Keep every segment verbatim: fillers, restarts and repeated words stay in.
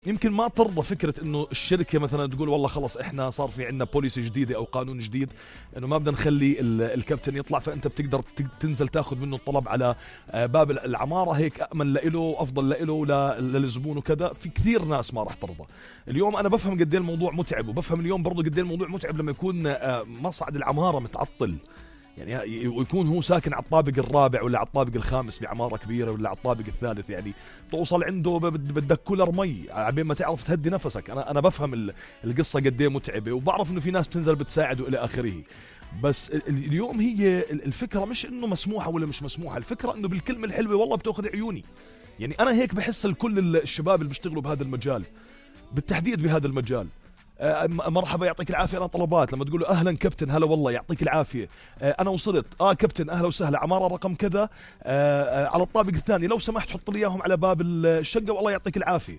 يمكن ما ترضى فكرة انه الشركة مثلا تقول والله خلص احنا صار في عندنا بوليسي جديدة او قانون جديد انه ما بدنا نخلي الكابتن يطلع، فانت بتقدر تنزل تاخذ منه الطلب على باب العمارة، هيك امن لإله افضل لإله للزبون وكذا. في كثير ناس ما راح ترضى. اليوم انا بفهم قد ايه الموضوع متعب، وبفهم اليوم برضو قد ايه الموضوع متعب لما يكون مصعد العمارة متعطل، يعني ويكون هو ساكن على الطابق الرابع ولا على الطابق الخامس بعمارة كبيرة ولا على الطابق الثالث، يعني توصل عنده بدك كولر مي عبين ما تعرف تهدي نفسك. أنا أنا بفهم القصة قد ايه متعبة، وبعرف إنه في ناس بتنزل بتساعد وإلى آخره. بس اليوم هي الفكرة مش إنه مسموحة ولا مش مسموحة، الفكرة إنه بالكلمة الحلوة والله بتأخذ عيوني. يعني أنا هيك بحس لكل الشباب اللي بيشتغلوا بهذا المجال، بالتحديد بهذا المجال. مرحبا يعطيك العافية، أنا طلبات. لما تقول له أهلا كابتن، هلا والله يعطيك العافية، أنا وصلت، آه كابتن أهلا وسهلا، عمارة رقم كذا آه على الطابق الثاني، لو سمحت حط لي إياهم على باب الشقة والله يعطيك العافية.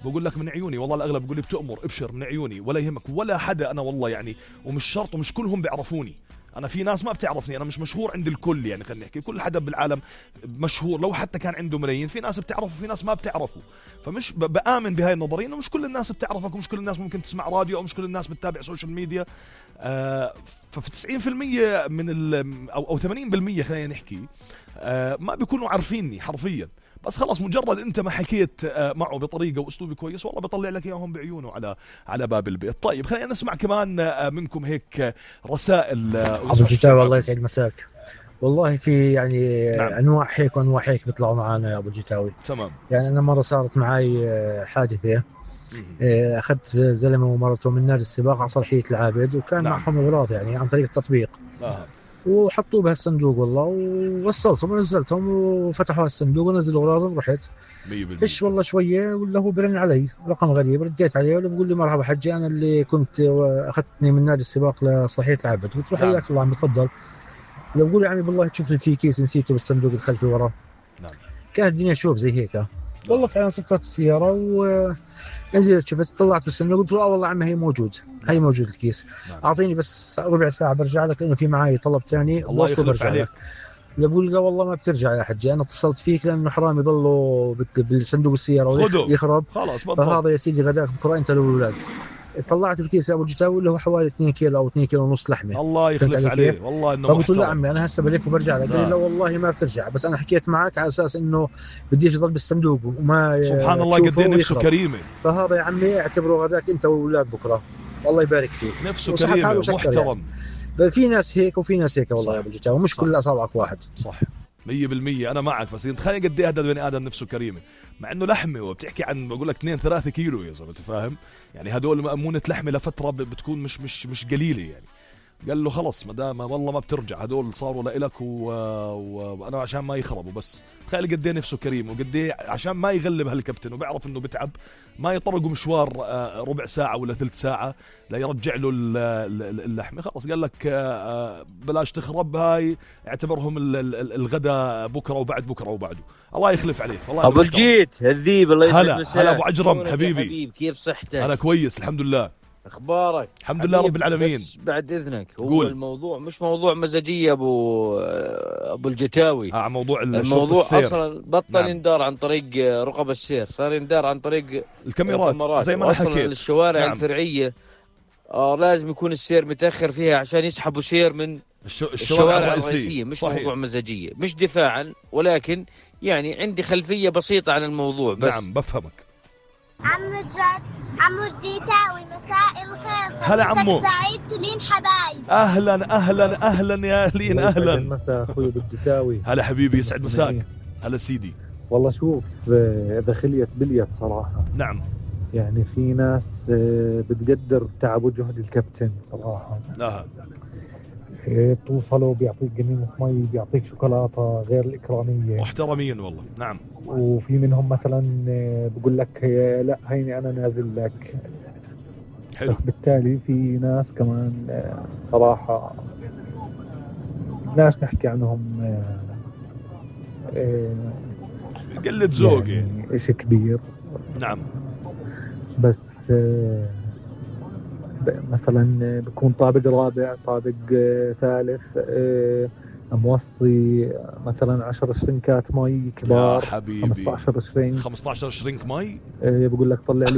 بقول لك من عيوني والله، الأغلب بقول لي بتأمر ابشر من عيوني ولا يهمك ولا حدا. أنا والله يعني ومش شرط ومش كلهم بيعرفوني، أنا في ناس ما بتعرفني، أنا مش مشهور عند الكل، يعني خلينا نحكي كل حدا بالعالم مشهور لو حتى كان عنده ملايين، في ناس بتعرفه وفي ناس ما بتعرفه. فمش بآمن بهاي النظرية إنه مش كل الناس بتعرفك ومش كل الناس ممكن تسمع راديو أو مش كل الناس بتتابع سوشيال ميديا. آه ففي تسعين بالمية من ال أو أو ثمانين بالمية خلينا نحكي آه ما بيكونوا عارفيني حرفيا، بس خلاص مجرد انت ما حكيت معه بطريقه واسلوب كويس والله بيطلع لك اياهم بعيونه على على باب البيت. طيب خلينا نسمع كمان منكم هيك رسائل. ابو جتاوي الله يسعد مساك. والله في يعني نعم. انواع هيك وانواع هيك بيطلعوا معنا يا ابو جتاوي. تمام. يعني انا مره صارت معي حادثه، اخذت زلمه ومرته من نادي السباق على صلاحيه العابد، وكان نعم. معهم اغراض يعني عن طريق التطبيق آه. وحطوه بهالصندوق والله، ووصلتهم ونزلتهم وفتحوا الصندوق ونزلوا اغراضهم ورحت. فيش والله شويه ولا هو برن علي رقم غريب، رديت عليه ولا بقول لي مرحبا حجي، انا اللي كنت اخذتني من نادي السباق لصلاحيه العابد. قلت له حياك الله عم تفضل. لو بقول لي عمي بالله تشوف لي في كيس نسيته بالصندوق الخلفي وراه. نعم. كانت الدنيا شوف زي هيك. والله فعلا صفت السياره ونزلت شفت طلعت بالصندوق قلت له اه والله عمي هي موجود، هي موجود الكيس. نعم. اعطيني بس ربع ساعه برجع لك لانه في معي طلب ثاني وصله برجع لك. بقول له والله ما بترجع يا حجي، انا اتصلت فيك لانه حرام يضلوا بالصندوق السياره ويخرب. خلاص فهذا يا سيدي غداك بكره انت للاولاد. طلعت الكيس يا ابو الجتاوي اللي هو حوالي اثنين كيلو او اثنين كيلو ونص لحمه. الله يخلف عليه والله انه قلت له عمي انا هسه بلف وبرجع لك. قال لي لا والله ما بترجع، بس انا حكيت معك على اساس انه بديش يضل بالصندوق وما سبحان الله قد ايه نفسه كريمه. فهذا يا عمي اعتبره غداك انت والاولاد بكره، الله يبارك فيك. نفسه كريمه ومحترم يعني. في ناس هيك وفي ناس هيك والله يا ابو الجتاوي، ومش كل اصابعك واحد. صح مية بالمية أنا معك. بس تخيل قد إيه هذا البني آدم نفسه كريمة مع إنه لحمة، وبتحكي عن بقول لك اثنين ثلاثة كيلو يا زلمة، تفهم يعني هدول مأمونة لحمة لفترة بتكون مش مش مش قليلة يعني. قال له خلص ما دام والله ما بترجع، هدول صاروا لإلك و... و... وأنا عشان ما يخربوا. بس تخيل قد إيه نفسه كريم وقد إيه عشان ما يغلب هالكابتن وبيعرف إنه بتعب، ما يطرقوا مشوار ربع ساعة ولا ثلث ساعة لا يرجع له اللحمة. خلاص قال لك بلاش تخرب هاي، اعتبرهم الغداء بكرة وبعد بكرة وبعده. الله يخلف عليك. الله أبو الجيت الذيب الله يسعد مساك. هلا أبو عجرم حبيبي. حبيب كيف صحتك؟ أنا كويس الحمد لله. اخبارك؟ الحمد لله رب العالمين. بس بعد اذنك هو قول. الموضوع مش موضوع مزاجيه ابو ابو الجتاوي. اه موضوع الموضوع السير. اصلا بطل نعم. يندار عن طريق رقب السير، صار يندار عن طريق الكاميرات زي ما انا حكيت. الشوارع نعم. الفرعيه آه لازم يكون السير متاخر فيها عشان يسحبوا سير من الشو... الشوارع, الشوارع الرئيسيه. مش صحيح. موضوع مزاجيه، مش دفاعا، ولكن يعني عندي خلفيه بسيطه عن الموضوع بس. نعم بفهمك. عمو جد عمو الجيتاوي مساء الخير. هلا عمو. سعيد تلين حبايب. اهلا اهلا اهلا يا لين اهلا. مساء اخوي بالجتاوي. هلا حبيبي يسعد مساك. هلا سيدي. والله شوف اذا خليت بليت صراحه. نعم. يعني في ناس بتقدر تعب وجهد الكابتن صراحه. لا بتوصلوا بيعطيك جنينة مي، بيعطيك شوكولاتة غير الإكرامية. محترمين والله. نعم. وفي منهم مثلا بقول لك لا هيني أنا نازل لك. حلو. بس بالتالي في ناس كمان صراحة ناس نحكي عنهم قلة ذوق يعني إشي كبير. نعم. بس مثلا بكون طابق رابع طابق ثالث موصي مثلا عشر شرنكات مي كبار. يا حبيبي خمسة عشر شرنك خمسة عشر شرنك مي. بقول لك طلع لي